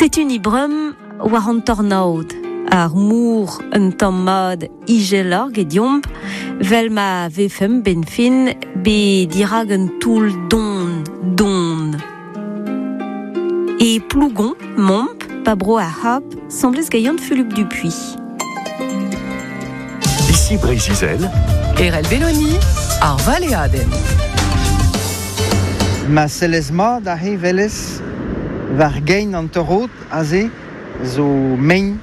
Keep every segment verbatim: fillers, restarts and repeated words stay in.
Setu ni brum war an tornaod, ar mour un tamm mat ijeloc'h gediomp, vel ma vefem ben fin be dirag un toull don, don. E Plougon, momp, pa bro ar hap, semblez gaiant Fulup Dupuy. Ici Breizh-Izel, Erel Belloni, ar Valeaden. Ma sellez mat a he velez war gein an torrod aze zo mein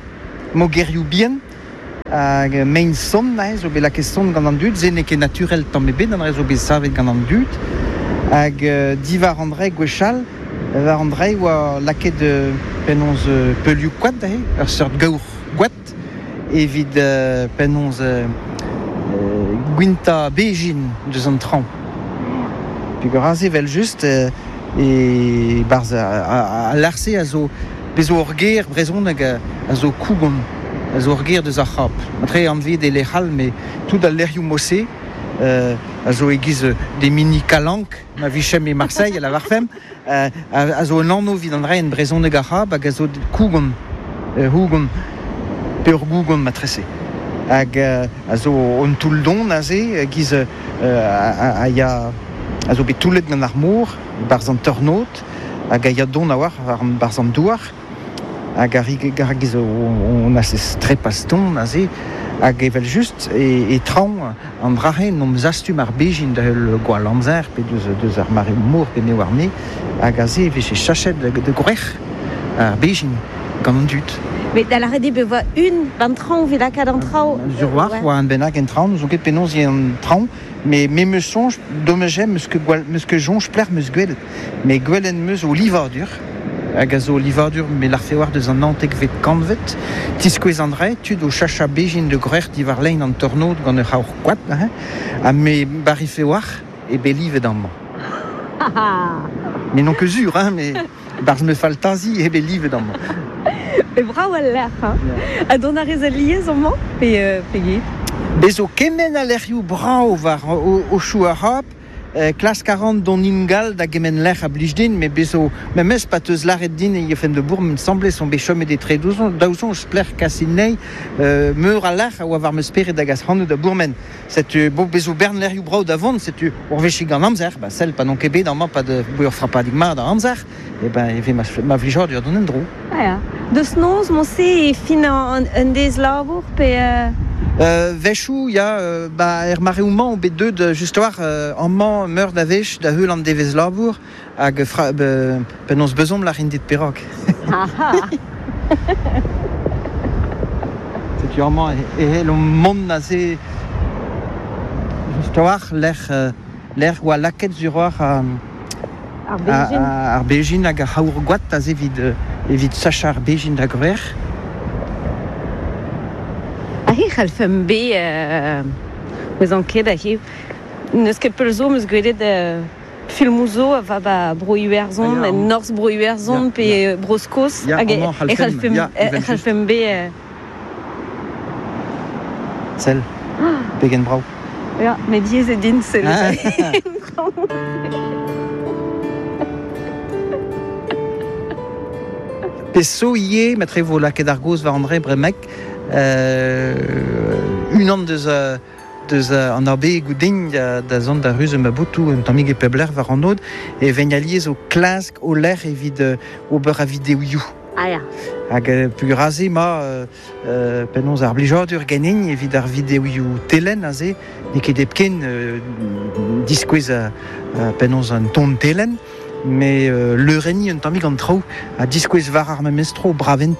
mogerioù bihan hag mein sonn aze zo bet lakaet sonn gant an dud, se n'eo ket naturel tamm ebet an re zo bet savet gant an dud hag euh, diwar an dre gwechall war an dre oa lakaet euh, penaos euh, peulioù koad aze, ur seurt gaour koad evit euh, penaos euh, euh, gwinta bejin deus an traoñ. Peogwir aze vel just euh, e barz a, a, a larse a zo bezo ur ger brezhoneg a, a zo kougon, a zo ur ger deus ar c'hap. Matre anvet e lec'hal, mais tout al lec'hioù mosse euh, a zo e-giz des mini calanques, ma vichem e Marseille, a la varfem, euh, a, a zo un anv evit an dre en brezhoneg ar c'hap hag a zo kougon, euh, hougon, pe ur gougon matrese. Hag euh, a zo un toull don aze, giz euh, a, a, a ya a zo bet toullet gant ar mor, barz an tornaod, hag a ya don a war, war an barz an douar, hag a rig gar giz on a se trepas don aze, hag evel just e, e traoñ an drahe n'om zastum ar bejin da heul gwall amzer, pe deus, deus ar mare mor pe neo ar me, hag aze e vije chachet de, de gwrec'h ar bejin gant an dud. Met da lâret eo be oa un ban traoñ evit lakaat an traoñ. Sur war, Ouais. oa an bennak en traoñ, n'ouzon ket penaos eo an traoñ, mais me meus soñj, dommajem meus ket gwall, meus ket soñj plec'h meus gwelet. Mais gwelet meus o livadur, hag a zo livadur me larfe war deus an naontekvet kantved, tiskouez an dre, tud o chacha bejin de gwrec'h diwar lein an tornaod gant ur c'haour koad, hein, ha me barife war e bet livet amañ. Mais non ket sur, hein, mais barz me faltazi e bet livet amañ. E brav al lec'h, hein. Ha dont a rez al liez amañ, pe, euh, pe get? Bezo kement a lec'hioù brav war o, o chou ar c'hap, euh, klask a ran dont ingal da gement lec'h a blij din, mais bezo, memes pa teus lâret din e fen de bourg, me semblait son bet chomet etre daouzon, daouzon splec'h kasin nei, euh, meur a lec'h a oa war meus spered hag as c'hanoù da bourmen. Setu, bo, bezo bern lec'hioù brav da vont, setu, ur wechig gant amzer, ba sell pa n'on ket bet amañ pa de ur frapadig mat a amzer, e ben e ve ma, ma vlijadur d'an endro. Ah ya. Deus noz, moñse e fin an, un dez labour, pe... Euh... Euh, Vechou, ya, euh, ba, er mareoù-mañ o bet deut just war, euh, amañ meur da wech da heul an devez labour hag fra, be, penaos bezomp lârin dit perak. Setu amañ e, e hell o mont aze just war lec'h, euh, lec'h oa lakaet sur war a, Ar bejin. a, ar bejin hag ar c'haour gwad aze evit, euh, evit sachañ ar bejin da gwrec'h. Ah, he c'hallfemp bet, euh, ouez an ket, he n'eus ket peul zo, meus gwelet, euh, filmoù zo a va ba bro Iwerzhon, Ah, ya. en norzh bro Iwerzhon, Ya, pe ya. bro Skos, Ya, hag e, amañ e c'hallfemp, c'hallfemp, ya, e evel just. c'hallfemp bet, euh, Sell, pegen brav. Ya, met diaes eo din sell. Ah. Peso ivez, matre vo lakaet ar goz war an dre bremek, euh, unan deus, euh, deus, euh, an abegoù din da, da zont da ruz ma boutou un tammig e peblec'h war an od, e ven alies o klask o lec'h evit, euh, ober a videoioù. Ah ya. Hag, euh, peogwir aze ma, euh, euh, penaos ar blijadur ganin evit ar videoioù telen aze, n'eo ket hepken, euh, diskouez, euh, euh, penaos an ton telen, mais, euh, leurenniñ un tammig an traoù a diskouez war ar memestro bravente.